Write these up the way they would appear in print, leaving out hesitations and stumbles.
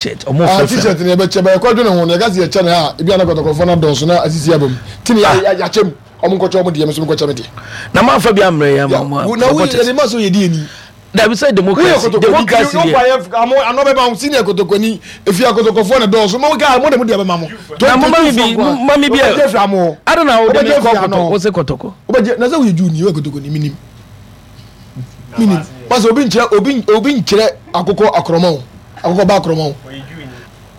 T-shirt ɔmo Ah, fɛfɛ. t-shirt no yɛbɛkyɛ bɛyɛ kɔdwene ho no yɛka sɛ yɛkyɛ no ha a ebi a na kɔtɔkɔfoɔ no adɔɔso na asisi aba mu nti ne yɛ- yɛakyɛ mu ɔmo nkɔkyɛ ɔmo deɛ me nso menkɔkyɛ me deɛ Na mo anfa bi ammerɛ yɛn Ya, mo wo- na woyɛ supporters. yɛde ma sɛ yɛdi yɛni Dabi sɛ woyɛ democracy kotokoni democracy nti deɛ. wofa yɛ amo ano bɛma wo senior kotokoni efi akotokɔfoɔ na dɔɔso mo ka mo de mo deɛ bɛma mo Na mo ma mi bi mo ma mi bi wobɛgye afiri amo hɔ Ada na wo de mi Wobɛgye kɔ afiri ano kɔtɔkɔ hɔ wo se kɔtɔkɔ. wobɛgye na sɛ woyɛ Jew ni woyɛ kotokoni menim menim masɛ obi nkyerɛ obi obi nkyerɛ akokɔ akorɔma o akokɔ ba akorɔma o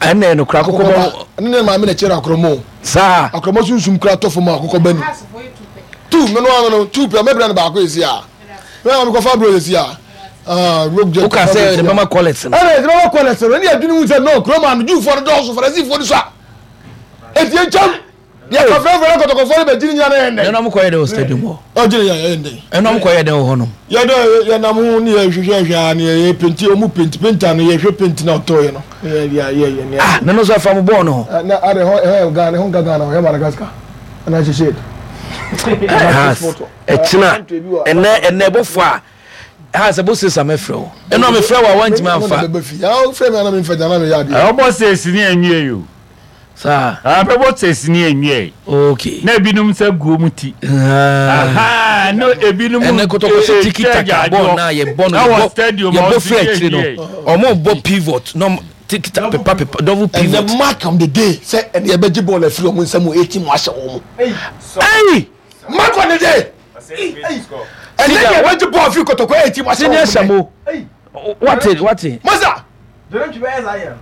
Ɛnna yɛ nokora akokɔ akokɔ ba bɔ ne ne maame na kyerɛ akorɔma o saa. akorɔma sunsum kura tɔ fam a akokɔ ba ni tu me no ano no tu pɛ mɛbrɛ no baako esi a mɛ maame kɔfa aburo esi a ah rogue jet Woka sɛ yɛde bɛma kɔlɛt no. ɛna yɛde bɛma kɔlɛt no ɛne yɛdwene hu sɛ no kurom ano Jewfoɔ no dɔɔso Farisifoɔ no so a enti yɛntwam yɛkɔ frɛfrɛ no kɔtɔkɔfoɔ no bɛgye ne nyina na yɛn dɛn Ɛnna ɔmo kɔyɛ dɛ wɔ stadium hɔ. ɔgye ne yɛn dɛn Ɛnna ɔmo kɔyɛ dɛ wɔ hɔnom. yɛdɛ yɛnam ho ne yɛhwehwɛhwɛ a ne yɛyɛ penti ɔmu penti penta no yɛhwɛ penti na ɔtɔɔyɛ no yɛ yɛ yɛ yɛ Ah na no nso afa mo bɔɔl no ho. na ade hɔ ɛhɔ Ghana ɛhɔ nka Ghana ɔyɛ Madagascar ɛna hyehyɛ Has ɛkyina ɛnɛ ɛnɛ ɛbɔfo a has ɛbɔ sesa mɛfrɛ wo. Ɛnna mefrɛ wo a wantumi amfa. Wofrɛ me ana memfa gyana meyɛ adeɛ Ɔbɔ sɛsi ne anwie yi o. Saa. Abɛbɔ sɛsi ne anwie. Okay. Na ebinom nsa gu wɔn ti. Ah. Aha, no ebinom Ɛnɛ kɔtɔkɔ sɛ tiki taka bɔɔl na yɛbɔ no Ɛwɔ yɛbɔ stadium a yɛbɔ ɔsi firi akyire no yɛ ɔmo bɔ pivot na ɔmo tiki taka pepa pepa double ɛnɛ pivot. mark on the day sɛ ɛne yɛbɛgye bɔɔl afiri ɔmo nsam wɔ 18 mu ahyɛ wɔn mo Ɛyi mark on the day ɛnɛ yɛbɛgye bɔɔl afiri kɔtɔkɔ 18 mu ahyɛ senior wɔn mo samo wate wate. masa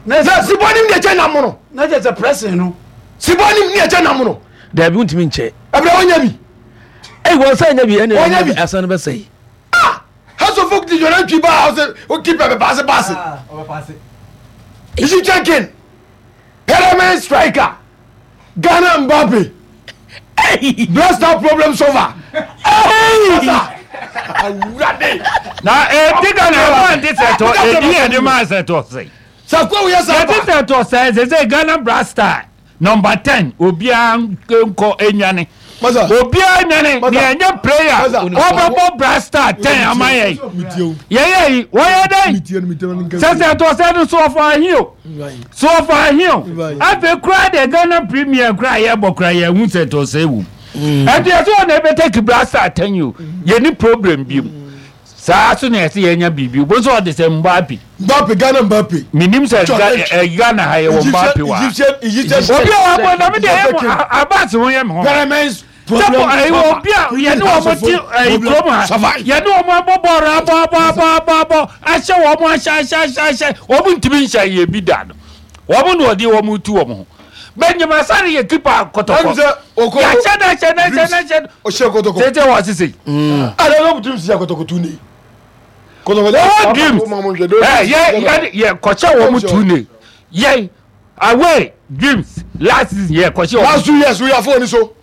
na sibɔ nim deɛ kyɛ nam no na kyɛ sɛ pressing no sibɔ nim deɛ kyɛ nam no Dabi ntumi nkyɛ. ɛbrɛ wɔnyɛ bi Ɛyi wɔn sɛ ɛnyɛ bi ɛna Wɔnyɛ bi. asan bɛ sɛyi. ah house of folk di jɔnɛ twi ba ɔsɛ o keeper bɛ paase paase Egyptian king pyramid striker Ghana Mbappe blaster problem solver masa awurade Na eti Ghana ɛbɔ nti sɛ tɔ edi yɛ de ma sɛ tɔ sɛ. sakuo wo yɛ Yɛte sa sɛ tɔ sɛ sɛ sɛ Ghana Blaster number 10 obiara nkɔ enwane. masa Obiara nwane Masa. ne ɛnyɛ player Masa. ɔbɛbɔ Blaster 10 ama yɛn. mitie o Yɛyɛ yi wɔyɛ dɛn? mitie no mitie no nka Sɛ sɛ tɔ sɛ no so ɔfɔ ahi o. So ɔfɔ ahi o. Afei kura de Ghana Premier kura yɛbɔ kura yɛn hu sɛ tɔ sɛ wom. Ɛnti ɛsɛ wɔn na ɛbɛtɛ Blaster 10 yi o. Yɛ ni problem bi mu. Saa so na ɛsɛ yɛnya biribi. Obo nso ɔde sɛ Mbappe. Mbappe Ghana Mbappe Menim sɛ John Ga- H. ɛ- ɛ, Ghana ha yɛwɔ Mbappe wɔ ha. Egyptian Egyptian Obi a wabɔ na me deɛ ɛyɛ mo Abbas ho yɛ me ho. pyramid Sɛ problem ɛyi obi a yɛne wɔn ti ɛyi kurom ha yɛne wɔn abɔ bɔɔl abɔ abɔ abɔ abɔ abɔ ahyɛ wɔn ahyɛ ahyɛ ahyɛ ahyɛ wɔn ntumi nhyɛ yɛ bi da no wɔn na wɔde wɔn tu wɔn ho. Benjamin Asare yɛ keeper kɔtɔkɔ Ɛnu sɛ okɔ yɛahyɛ no ahyɛ no ahyɛ no ahyɛ no ɔhyɛ kɔtɔkɔ tete wɔ sese ada na ɔmutum si akɔtɔkɔ tu ne kɔtɔkɔ wɔwɔ dreams ɛ yɛ yɛ yɛ kɔhyɛ wɔn tu ne yɛ away dreams last season yɛ kɔhyɛ wɔn last 2 years wo yɛ afɔ ni so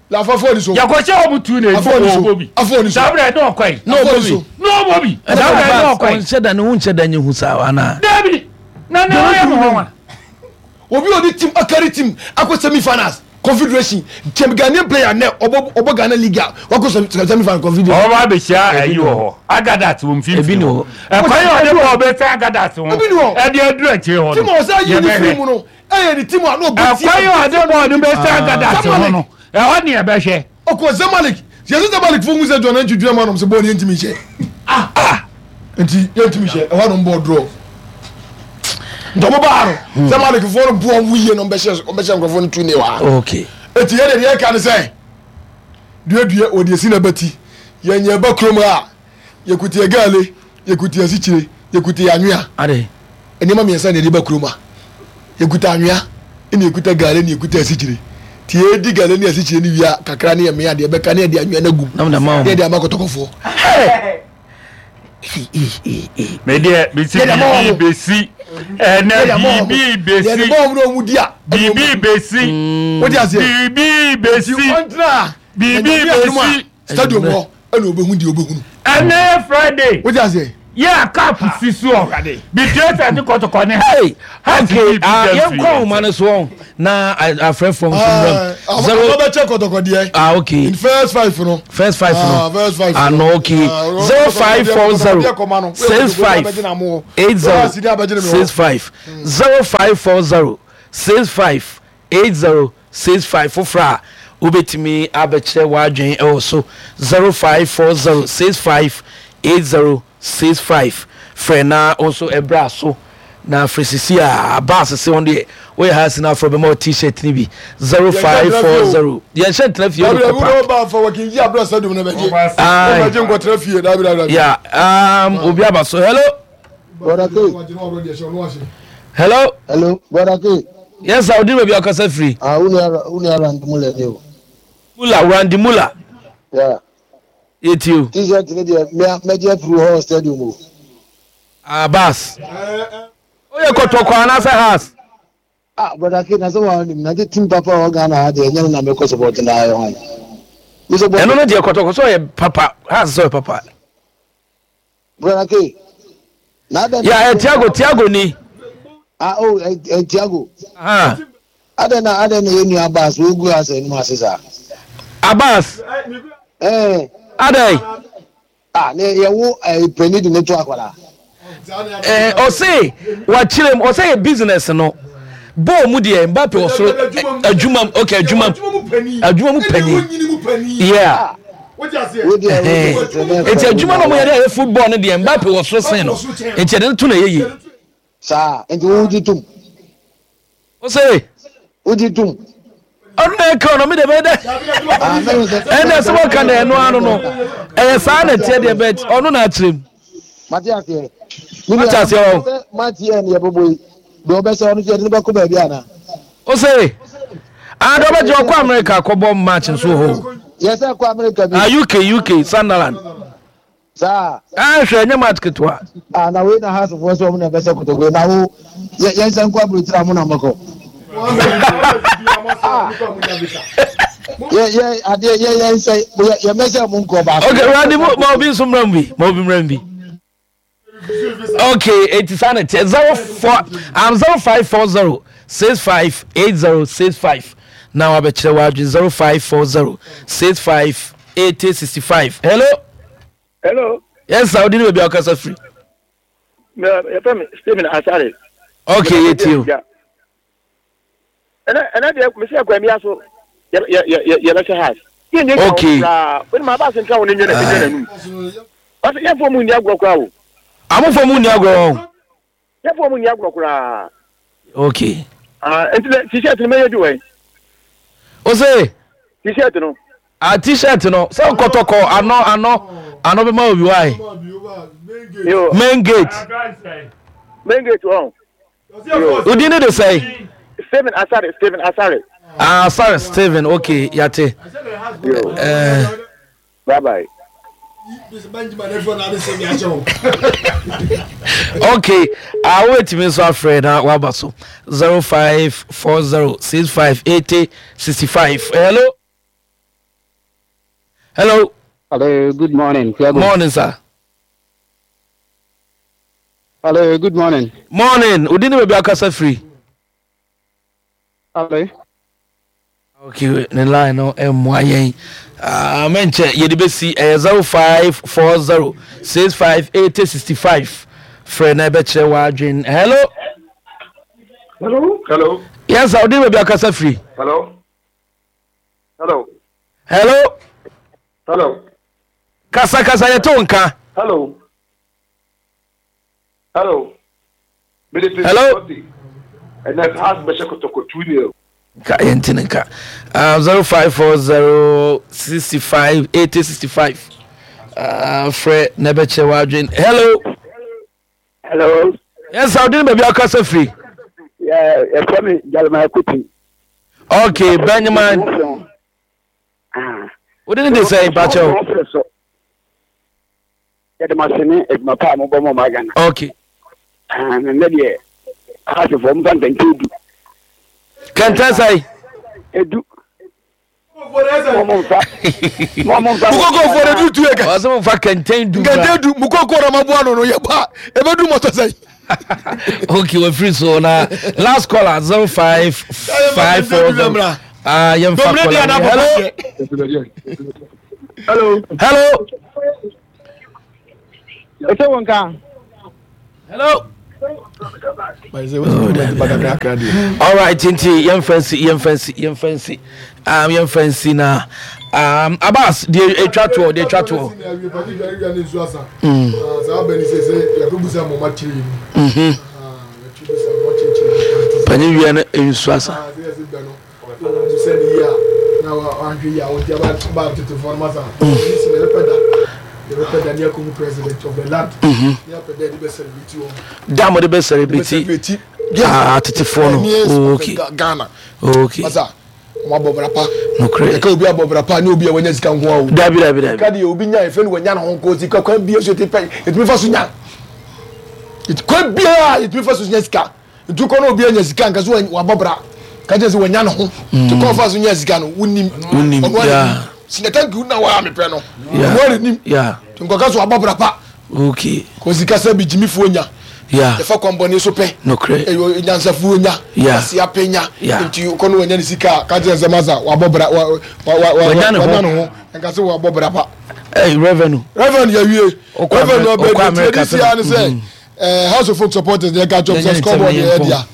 la afɔ afɔ ni so yɛ kɔhyɛ wɔn tu ne Afɔ ni so. ɔbɔ bi Afɔ ni so. saa bɛrɛ ne ɔkɔ yi Na ɔbɔ bi. ne ɔbɔ bi saa bɛrɛ ne ɔkɔ yi Ɔnhyɛ da ne ho nhyɛ da nye hu saa ana. dabi na ne ɔyɛ mo hɔ wa obi a ɔde team akari team akɔ semi finals confederation kyɛm Ghanaian player nɛ ɔbɔ ɔbɔ Ghana league a wakɔ semi final confederation ɔba abɛhyia ayi wɔ hɔ agadat wɔ Ebi mfimfini ni hɔ hɔ. ɛkwan yɛ ɔde bɔɔl bɛfɛ agadat ho Ebi ni hɔ. ɛde aduru akyire hɔ team a no ɔsɛ ayi ne firi mu yɛbɛhwɛ no ɛyɛ ne team a na ɔbɔ ɛkwan yɛ ɔde bɔɔl no bɛfɛ agadat ho Zamalek. no ɛhɔ ne yɛbɛhwɛ ɔkɔ Zamalek yɛsɛ Zamalek fo hu sɛ John Antwi dwuma nom sɛ bɔɔl no yɛntumi nhyɛ ah nti yɛntumi nhyɛ ɛhɔ nom bɔɔl draw nti ɔmo baa no Zamalek foɔ no boɔ ɔmo yie no ɔmbɛhyɛ ɔmbɛhyɛ nkurɔfoɔ no tu ne wɔ ha Okay. eti yɛ deɛ yɛka ne sɛ duadua wɔde esi na bɛti yɛnyɛ ba kurom a yɛkuti yɛ gaale yɛkuti yɛ asikyire yɛkuti yɛ anwea Ade. nneɛma mmiɛnsa na yɛde ba kurom a yɛkuta anwea ɛna yɛkuta gaale na yɛkuta asikyire nti yɛdi gaale ne asikyire no wie a kakra ne yɛ mmea deɛ bɛka ne yɛde anwea no agum Na mo na ma ne wɔn. yɛde ama kɔtɔkɔfoɔ medeɛ mesi Yɛde ama biribi wɔn. bɛsi ɛnɛ yɛde ama wɔn biribi yɛde bɛsi ma wɔn na wɔn di a biribi bɛsi wode aseɛ biribi bɛsi ɔntena a Biribi na Nyame adom a, bɛsi. stadium hɔ ɛna ɔbɛhu deɛ ɔbɛhunu ɛnɛ yɛ Friday wode aseɛ. Yɛ a cup si soɔ. Betrayal ne kɔtɔkɔ ne Hey, Hearts okay, bi ah, da yɛn mfiri kɔ yɛn ahoma no so wɔn na afrɛfoɔ nso mmram. Zero. Ɔbɛkyɛ kɔtɔkɔ deɛ. Ah, okay. In first five no. First five no. Ah, first five. Ah, no, okay. 0540 65 80 65 0540 65 80 65 foforɔ a wobɛtumi abɛkyerɛ w'adwene ɛwɔ so 0540 65 80 65 frɛ na wo nso ɛbra so na frɛ sisi a baase se wɔn deɛ woyɛ ha si na afrɛ bɛma wɔ t-shirt no bi 0540 yɛnhyɛ ntena fie wode kɔ park ya obi aba so hello. Hello. Hello, brother K. Yes, sir. Odi baabi akasa firi. Ah, unu Randy Mula ni o. Mula, Randy Mula. Yeah. Yeti o. T-shirt ni deɛ me mɛgye afiri hɔ stadium o. Ah, bas. Oyɛ kɔtɔkɔ anaasɛ has. Ah brother K na sɛ wa nim na team papa wɔ Ghana ha deɛ ɛnyɛ no na mekɔ support na ayɛ hwan. Ɛno no deɛ kɔtɔkɔ sɛ ɔyɛ papa has sɛ ɔyɛ papa. Brother K. Na adɛn na. Ya ɛ Tiago Tiago ni. Ah oh ɛ ɛ Tiago. Ah. Adɛn na adɛn na yɛn nua Abbas wogu asa anim ase saa. Abbas. Ɛɛ. Adɛn. Ah ne yɛwo ɛ panyin de ne to akwadaa. Ɛɛ ɔse wakyerɛ mu ɔsɛ yɛ business no bɔɔl mu deɛ Mbappe wɔ soro adwuma mu okay adwuma mu adwuma mu panyin yeah eti adwuma na ɔmo yɛ de ayɛ football no deɛ Mbappe wɔ soro sen no eti ɛde no to na ɛyɛ yie. Saa nti wo gye tom. Ose. Wogye tom. Ɔno na ɛka ɔno mi de bɛ dɛ. Ɛnna ɛsɛ wɔka na ɛno ano no ɛyɛ saa na ɛteɛ deɛ bɛ ɔno na akyerɛ mu. Mate aseɛ. Mate aseɛ wɔ. Sɛ mate yɛ ne yɛbɛbɔ yi deɛ ɔbɛsɛ ɔno sɛ yɛde no bɛkɔ baabi ana. Ose. Ah, deɛ ɔbɛgye ɔkɔ America kɔbɔ match nso hɔ. Yɛsɛ kɔ America bi. Ah, UK UK Sunderland. Saa. Ah hwɛ ɛnyɛ match ketewa. Ah na wei na house foɔ sɛ ɔmo na ɛbɛsɛ kotoko yi na wo yɛ yɛn nsa nkɔ aburokyire a mo na mɔkɔ. Ah yɛ yɛ adeɛ yɛ yɛn nsa yɛ yɛ mɛsɛ mo nkɔ baako. Okay Randy mo ma obi nso mmerɛ mu bi ma obi mmerɛ mu bi. Okay eti saa na ɛteɛ 04 0540 65 80 65 na wabɛkyerɛ w'adwene 0540 65 80 65 hello. Hello. Yes sir, odi ni baabi a ɔkasa firi. Yɛfrɛ me Stephen Asare. Okay, yɛ tie o. Ɛnɛ ɛnɛ deɛ mesi akwan bi aso yɛ yɛ yɛ yɛbɛhyɛ house. Yɛ nyɛ Okay. koraa. Wọ́n mu aba asentena wɔn nyɛ na nyɛ n'anum. Ɔsɛ yɛn fɔ mu nni agorɔ koraa o. Amofo mu nni agorɔ wɔn. Yɛn fɔ mu nni agorɔ koraa. Okay. Ah, nti dɛ t-shirt no mɛyɛ bi wɔ yi. O se. T-shirt no. Ah, t-shirt no sɛ kɔtɔkɔ ano ano ano bɛma obi wa yi. Yo. Main gate. Main gate wɔn. Odi ne de sɛn. Stephen Asare Stephen Asare. Ah, Asare Stephen okay yate. Yo. Eh. Bye bye. Okay, ah, wobɛtumi nso afrɛ na waba so 0540 65 80 65. Hello. Hello. Hello, good morning. Tiago. Morning, sir. Hello, good morning. Morning. Odi ne baabi akasa firi. Hello. Okay, ne line no mmoa yɛn. Ah, mɛnkyɛ yɛde bɛsi ɛyɛ 0540 65 80 65 frɛ na ɛbɛkyerɛ w'adwen. Hello. Hello. Hello. Yes, sir. Odi ne baabi akasa firi. Hello. Hello. Hello. Hello. Kasa kasa yɛte wo nka. Hello. Hello. Hello. Ɛnɛ house bɛhyɛ kɔtɔkɔ 2-0. Nka yɛnte ne nka. 0540 65 80 65. Frɛ na ɛbɛkyerɛ w'adwen. Hello. Hello. Yes, sir. Wodin baabi akasa firi. Yeah, yɛfrɛ me Jeremiah Kuti. Okay, Benjamin. Wode ne de sɛn mpakyɛw? Yɛde mo ase ne adwuma pa a mobɔ ma ɔman Ghana. Okay. Ah, na nnɛ deɛ ahasefoɔ mfa nkɛntɛn edu. Kɛntɛn sɛn? Edu. Mukoko fo de du eka. Ɔsɛ mo fa kɛntɛn du. Kɛntɛn du mukoko na ma bu ano no yɛ ba ebe du mɔtɔ sɛn. Okay, we're free so na last caller 05540. Ah, yɛn fa caller. Hello. Hello. Hello. Ese wɔn ka. Hello. All right, nti yɛn fɛnsi yɛn fɛnsi yɛn fɛnsi um, yɛn fɛnsi na um, Abbas deɛ etwa toɔ deɛ etwa toɔ. Panyin wia no nsu asa. Da mo de bɛ celebrate atetefoɔ no. Okay. Okay. Wɔn abɔ bra pa. Nokorɛ. Ɛka obi abɔ bra pa ne obi a wanya sika nko ara o. Dabi dabi dabi. Ɛka deɛ obi nya efe no wanya ne ho nko sika kwan bi so yɛtumi yɛtumi fa so nya. Kwan biara yɛtumi fa so nya sika. Nti kɔ na obi anya sika nka so wabɔ bra. Ka kyerɛ sɛ wanya ne ho. Nti kɔ fa so nya sika no wonim. Wonim. Ɔno ara nim. Sika thank you na waa mepɛ no. Ɔno ara nim. Nti nkɔka so wabɔ bra pa. Okay. Kɔ sika sɛ bi gyimifoɔ nya. Yeah. Yɛfa kwan bɔne so pɛ. Nokorɛ. Ɛyɛ nyansafoɔ nya. Yeah. Kwasia pɛ nya. Yeah. Nti kɔ no wanya ne sika a ka kyerɛ sɛ masa wabɔ bra wa wa wa Wanya ne ho. wanya ne ho. Nka sɛ wabɔ bra pa. Hey, revenue. Revenue yɛwie. Ɔkɔ Revenue Amer- ɔbɛ ɔkɔ deɛ America ti si ara ne sɛ Mhm. eh, House of Folk supporters deɛ ɛka kyerɛ Yɛnyɛ sɛ ne scoreboard ntɛm na yɛ yɛmpɔn. dea.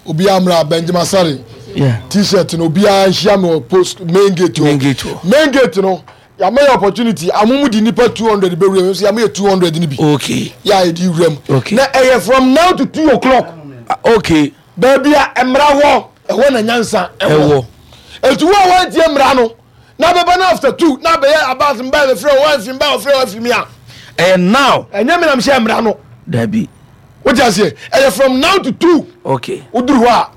Obiara mmra Benjamin Asare Yeah. t-shirt no obiara nhyia me wɔ post main gate hɔ. Main gate hɔ. Main gate no yàmɛ yɛ opportunity amumu di nipa 200 bɛ wura mu nso yàmɛ yɛ 200 ni bi. Okay. Yà yɛ di wura mu. Okay. Na ɛyɛ from now to 2 o'clock. Ah, okay. Baabi a mmara wɔ ɛhɔ na nyansa ɛwɔ. Ɛwɔ. Etu wo a wɔntie mmara no na bɛba no after 2 na bɛyɛ abas mba bɛfrɛ wɔn amfi mba wɔfrɛ wɔn afi mi a. Ɛyɛ now. Ɛnyɛ mi na mi hyɛ mmara no. Dabi. Wote aseɛ ɛyɛ from now to 2. Okay. Woduru hɔ a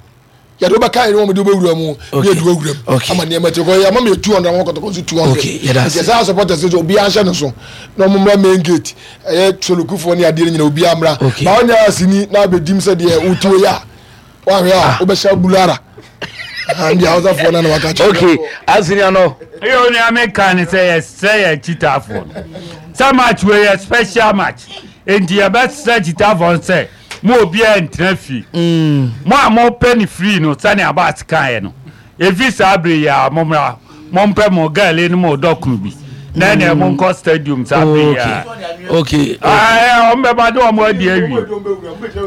yɛde wobɛka yɛne wɔn de wobɛwura mu ne yɛde wawura mu ama nneɛma ti kɔ yɛama meyɛ 200 ama kɔtɔkɔ nso 200 nti ɛsɛ supporters nso obiara nhyɛ ne so na ɔmo mmra main gate ɛyɛ solokufoɔ ne adeɛ no nyina obiara mmra na ɔnyɛ asini na abɛdim sɛ deɛ wotuo yɛ a woahwɛ a wobɛhyɛ bulara ndi hausafoɔ no na waka kyerɛ. Okay, asini ano. Ɛyɛ onua mi ka ne sɛ yɛsrɛ yɛn kyitaafoɔ no sɛ match wei yɛ special match nti yɛbɛsrɛ kyitaafoɔ no sɛ mo obiara ntena fie mo a mopɛ ne free no sɛnea Abbas kaeɛ no ɛfiri saa bere yi a mommra mompɛ mo gɛle ne mo dɔkono bi na ɛneɛ monkɔ stadium saa bere yi a okay wɔn bɛba de wɔn adi awie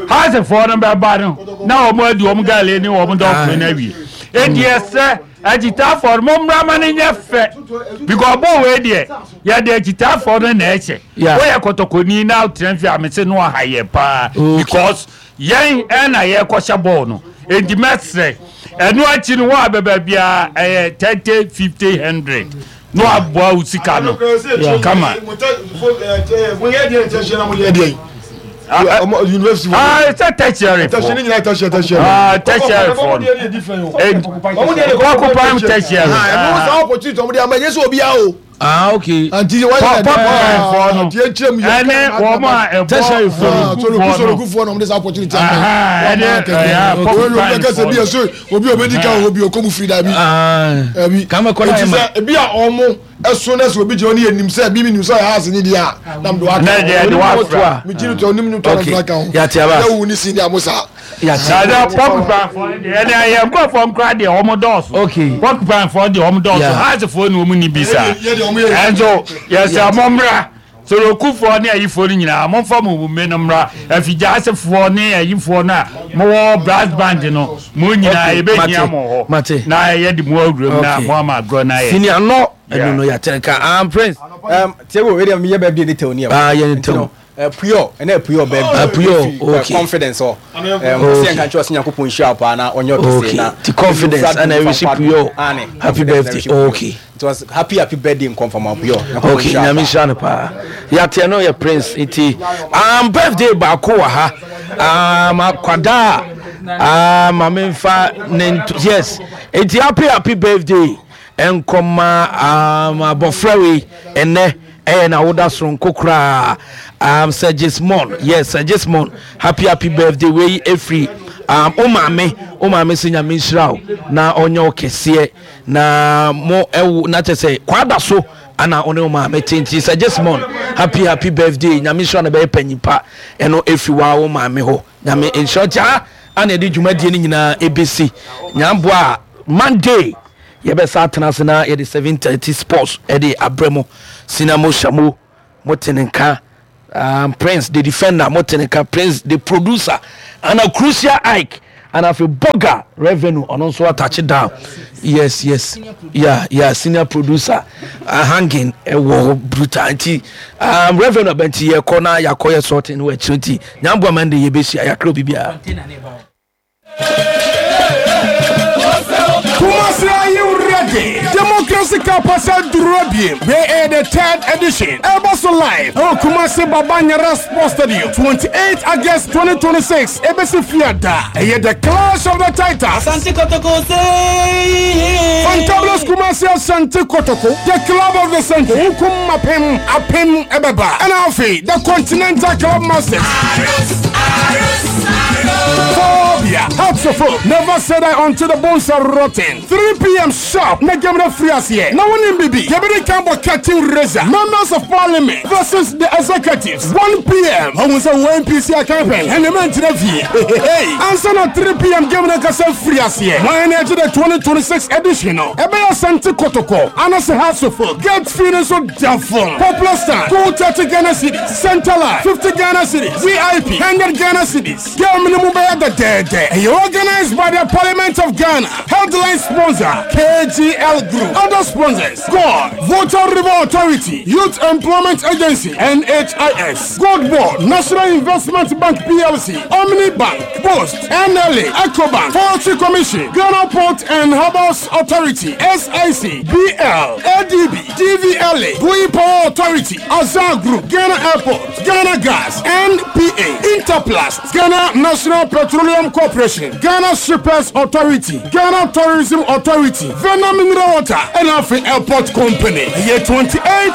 hasefoɔ no bɛba no na wɔn adi wɔn gɛle ne wɔn dɔkono no awie enti ɛsɛ akyitaafoɔ no mommra ma no nyɛ fɛ because bɔɔl wei deɛ yɛde akyitaafoɔ no na ɛhyɛ woyɛ kɔtɔkɔni na wotena fie a mese no aha yɛ paa because yɛn ɛna yɛkɔhyɛ bɔɔl no enti mɛsrɛ ɛno akyi no wɔn a bɛba biara ɛyɛ 30 50 100 na waboa wo sika no kama. Sɛ tertiary foɔ tertiary foɔ no kɔkopam tertiary. Ah, okay. Anti why that? Pɔpɔ no. Ɛne wɔn a ɛbɔ tertiary foɔ no. Sorokufoɔ no wɔn de sa opportunity ama. Ɛne ɛyà pɔpɔ foɔ no. Obi ɛso obi obi di kan obi okomu firi dabi. Ɛbi. Kama kɔla yɛ ma. Eti sɛ ebi a ɔmo ɛso na sɛ obi gyina ɔne yɛ nim sɛ ebi mi nim sɛ ɔyɛ house ni deɛ a nam de wa ka. Ne deɛ de wa fura. Mi gyi ni tɔ onim ni tɔ na fura ka ho. Yate aba. Yɛ wu ni si ni a mo saa. Dada porcupine foɔ deɛ ɛnna yɛn nkurɔfoɔ nkura deɛ wɔn dɔɔso. Okay. Porcupine foɔ deɛ wɔn dɔɔso. Hearts foɔ ni wɔn ni bi saa. Ɛnso yɛsɛ mo mmra sorokufoɔ ne ayifoɔ no nyinaa momfa mo mme no mmra afigyasefoɔ ne ayifoɔ no a mowɔ brass band no mo nyinaa yɛbɛhia mo hɔ na yɛde mo awuram na mo ama agorɔ no ayɛ. Sini ano ɛnu no yɛatɛn ka am prince. Tiago wei deɛ meyɛ birthday ne tɛw ni ɛ. Ah yɛ ne tɛw. Puyɔ ɛnɛ Puyɔ birthday. Puyɔ okay. Confidence ɔ. Ɔsɛ nka nkyɛn ɔsɛ Nyankopɔn nhyira paa na ɔnyɛ ɔkɛse na. Ti confidence ɛna ɛwisi Puyɔ. Happy birthday okay. It was happy happy birthday nkɔnfama Puyɔ. Okay nyame nhyira no paa. Yateɛ no yɛ prince nti birthday baako wɔ ha akwadaa maame nfa ne nto yes nti happy happy birthday nkɔma abɔfra wei ɛnɛ. Ɛyɛ na woda soronko koraa. Sir Gismond, yes, Sir Gismond, happy happy birthday. Wei efiri Um, wo maame, wo maame sɛ Nyame nhyira wo na ɔnyɛ wo kɛseɛ na mo ɛwo na kyɛ sɛ kwada so ana wo ne wo maame te nti sɛ Jesmond happy happy birthday Nyame nhyira no bɛyɛ panyin pa ɛno ɛfiri waa wo maame hɔ Nyame nhyira nti ha ana ɛde dwumadie no nyinaa ɛbɛsi Nyamboa a Monday yɛbɛsa atena ase na yɛde 7:30 sports ɛde abrɛ mo sina mo hyɛ mo mo te ne nka um, Prince the defender mo te ne nka Prince the producer ana Crucial Ike ana afei Boga revenue ɔno nso atache down yes yes yeah yeah senior producer uh, hanging ɛwɔ hɔ brutal nti um, revenue abɛnti yɛkɔ na yɛakɔ yɛ sorting wɔ akyire nti nyamboa man de yɛbɛhyia yɛakrɛ obi biara. Kumasi, are you ready? Democracy Cup asa duru abiem. Wei ɛyɛ the third edition. Ɛbɔ so live ɛwɔ Kumasi Baba Nyara Sports Stadium 28 August 2026 ebesi Fiada. Ɛyɛ the clash of the titans. Asante Kotoko say. Fantabulous Kumasi Asante Kotoko, the club of the century. Nkum apem apem ɛbɛba. Ɛna afei the Continental Club Masters. Phobia, Hearts of Oak, never said I until the bones are rotten. 3 p.m. sharp, na game no free aseɛ. Na wonim bibi, yɛbɛde kan bɔ curtain raiser. Members of Parliament versus the executives. 1 p.m. Ɔhu sɛ wɔ NPC akanpɛn, ɛne mɛnkyerɛ fie. Ansa na 3 p.m. game no kasa free aseɛ. Wɔn na ɛgye the 2026 edition no. Ɛbɛyɛ Asante Kotoko, anase Hearts of Oak. Gate fee no nso da fam. Popular stand, 230 Ghana cedis. Center line, 50 Ghana cedis. VIP, 100 Ghana cedis. Game no mu bɛyɛ dɛdɛɛdɛ. Ɛyɛ organized by the Parliament of Ghana. Headline sponsor, KGL Group. Other sponsors, God, Volta River Authority, Youth Employment Agency, NHIS, Gold Board, National Investment Bank PLC, Omni Bank, Post, NLA, Ecobank, Forestry Commission, Ghana Port and Harbors Authority, SIC, BL, ADB, DVLA, Bui Power Authority, Azar Group, Ghana Airport, Ghana Gas, NPA, Interplast, Ghana National Petroleum Corporation, Ghana Shippers Authority, Ghana Tourism Authority, Vena Mineral Water, and Afi Airport Company. Year 28.